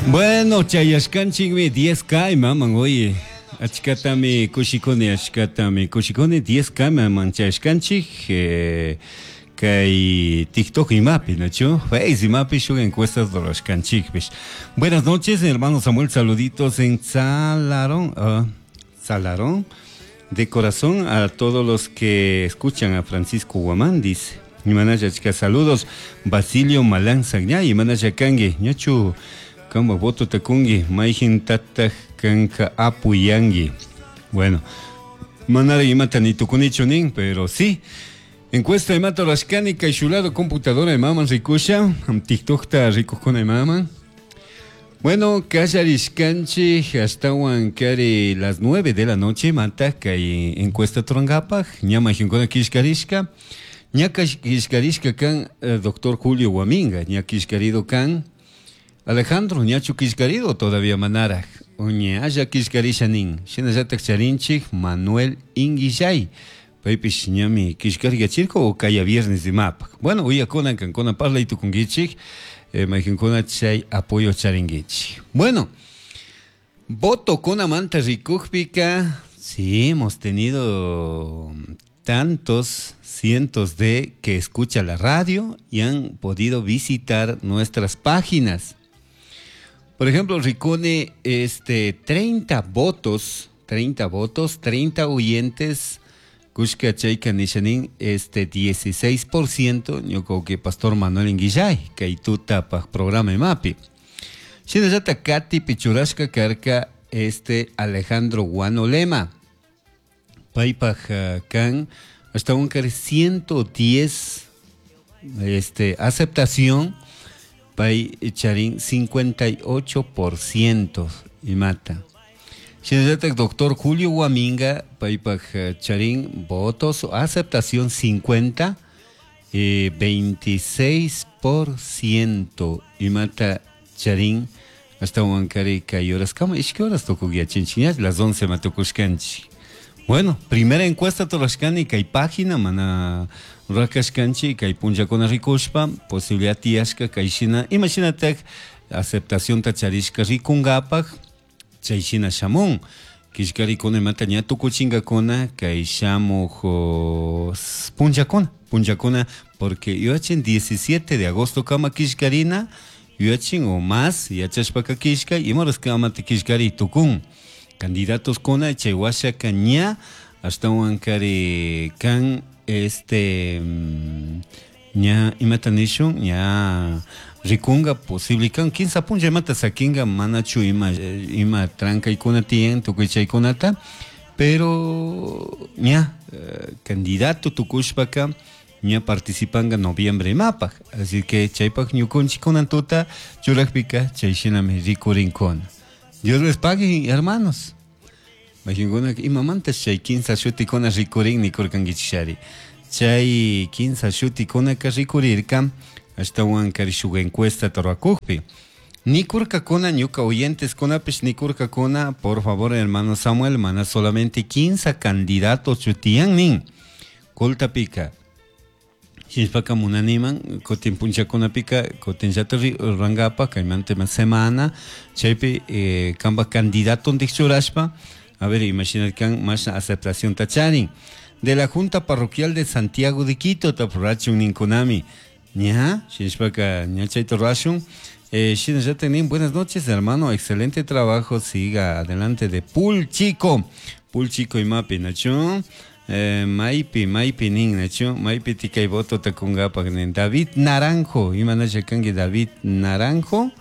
Bueno, chayashkanchikmi 10K imaman, oye. Achkatami kushikuni, achkatami kushikuni 10K imaman chayashkanchik. Kay TikTok imapi, ¿nachu? Face imapi shuk encuestas rurashkanchikpish. Buenas noches, hermano Samuel, saluditos en Salarón. Salarón. De corazón a todos los que escuchan a Francisco Guamán, dice. Imanalla achka saludos. Basilio Malán Sagñay, imanalla kangi. Ñachu kamba voto takungi, mayjin tataj kanka apuyangi. Bueno, manara imata ni tukunichu nin, pero sí. Encuesta imata rurashkani kay shulado computadora imaman rikusha, TikTokta rikukuna imaman. Bueno, kallarishkanchik ashtawan kari las 9 de la noche mata kay encuesta turankapak, ña mayjinkuna killkarishka. Ña killkarishka kan doctor Julio Guaminga, ña killkarido kan Alejandro, ñachu killkarido todavía manaraj, ñalla killkarisha nin. Shinallatak charinchik Manuel Inguillay, paypish ñami killkariyachirka o kaya viernes imapak. Bueno, uyakuna kankuna parlay tukunkichik, mayjinkuna chay apoyo charinkichik. Bueno, voto kunamanta rikukpika, sí, hemos tenido tantos cientos de que escucha la radio y han podido visitar nuestras páginas. Por ejemplo, rikuni, 30 votos, 30 votos, 30 oyentes, kushka chayka nishanin, 16%, ñuka que Pastor Manuel Inguillay, kay tuta paj programa imapi. Shinallata Katy Pichurashka karka, Alejandro Guanolema. Paypaj kan hasta un kari 110, aceptación, pay charin 58% y mata. Shinallata doctor Julio Guaminga, paypaj charin votos, aceptación 50, 26% y mata charin hasta un kari kay horas kama, ishki horas tukugyachinchiñas, las 11 matukushkanchik. Bueno, primera encuesta torashkani kay página mana rakashkanchi kay punllakuna rikushpa posibilidad tiyashka kay shina imashinatak aceptación ta charishka rikungapak chay shina shamun killkarikuna imata ña tukuchinkakuna kay shamuj punllakuna, punllakuna porque yuyachin 17 de agosto kama killkarina yuyachin o más yachashpaka killkay imaras kamata killkari tukun candidatos kuna chay washaka ña ashtawan kari kan ña imata nishun ña rikunga posible kan kinsa punlla imata sakinga manachu ima trankaykuna tiyan tukuy chaykunata pero ña candidato tukushpaka ña participanga noviembre imapaj así que chaypaj ñukunchik kunan tuta churakpika chay shinami rikurinkuna. Dios les pague, hermanos. Imagina imamanta chay kinsa shutikuna rikurin nikurkankichishari. Chay kinsa shutikunaka rikurirka ashtawan kari shuk encuesta torrakukpi. Nikurkakuna ñuka oyentes kunapish nikurkakuna, por favor, hermano Samuel, mana solamente 15 candidatos chutiyan nin. Koltapika. Shinshpaka munaniman, kutin punchakunapika, kutin llata rangapa, kaymanta ima semana, chaypi kamba candidato ndikchurashpa, a ver, imagina kan mashna aceptación tacharin. De la Junta Parroquial de Santiago de Quito, tapurachun ninkunami. Ña, shinshpaka, ña chayta rashun. Shinashata nin, buenas noches, hermano, excelente trabajo, siga adelante de Pulchico. Pulchico y mapi, nachun. Maipi, maipi nin, nachu, maipi tikay voto takungapak nin. David Naranjo, imanasha kanki David Naranjo,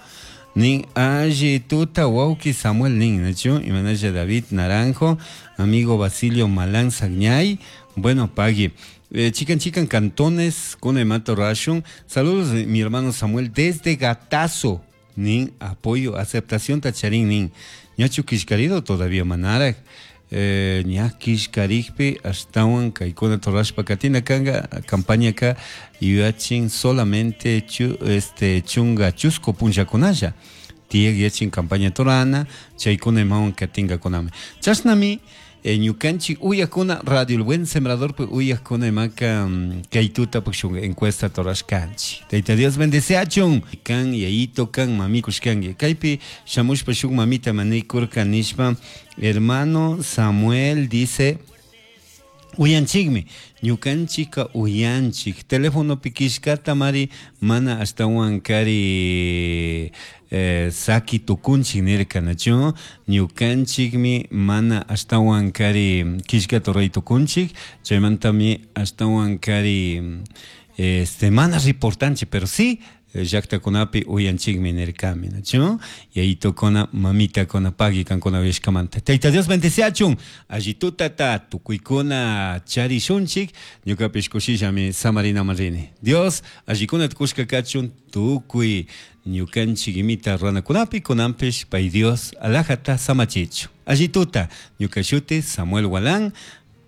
nin, alli tuta wauki Samuel nin, nachu, imanasha David Naranjo, amigo Basilio Malán Sagñay, bueno, pagui. Chican, chican, cantones, con Emato Rashun. Saludos, mi hermano Samuel, desde Gatazo, nin, apoyo, aceptación tacharín, nin. Ñachu kishkarido todavía manarak. Ña kishkarikpi ashtawan kaykuna torashpa katina kanga campaña ka yuyachin solamente chunga chusco punllakunalla tiyak yachin campaña torana chaykuna imawan katingakunami chashnami Ñukanchik uyakuna Radio El Buen Sembradorpi uyakuna imaka kay tutapak shuk encuesta rurashkanchik. Tayta Dios bendeciachun. Kan yayito kan mami kushkanki. Kaypi shamushpa shuk mamita manikurka nishpa hermano Samuel dice uyanchikmi ñukanchikka uyanchik telefonopi killkata mari mana ashtawan kari saki tukunchik nirka nachu ñukanchikmi mana ashtawan kari killkata ruray tukunchik chaymantami ashtawan kari este mana reportanchik pero sí llaktakunapi uyanchikmi nirkami nachu yayitukuna mamitakuna pagui kankuna uyashkamanta Tayta Dios bendeciachun alli tutata tukuykuna charishunchik ñukapish kushillami samarinaman rini Dios allikunata kushka kachun tukuy ñukanchik imita ruranakunapi kunanpish pay Dios alajata samachichu alli tuta ñuka shuti Samuel Gualán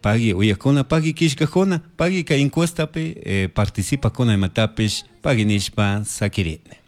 pagui uyakuna pagui killkakuna pagui kay encuestapi participakuna imatapish pagui nishpa sakirini.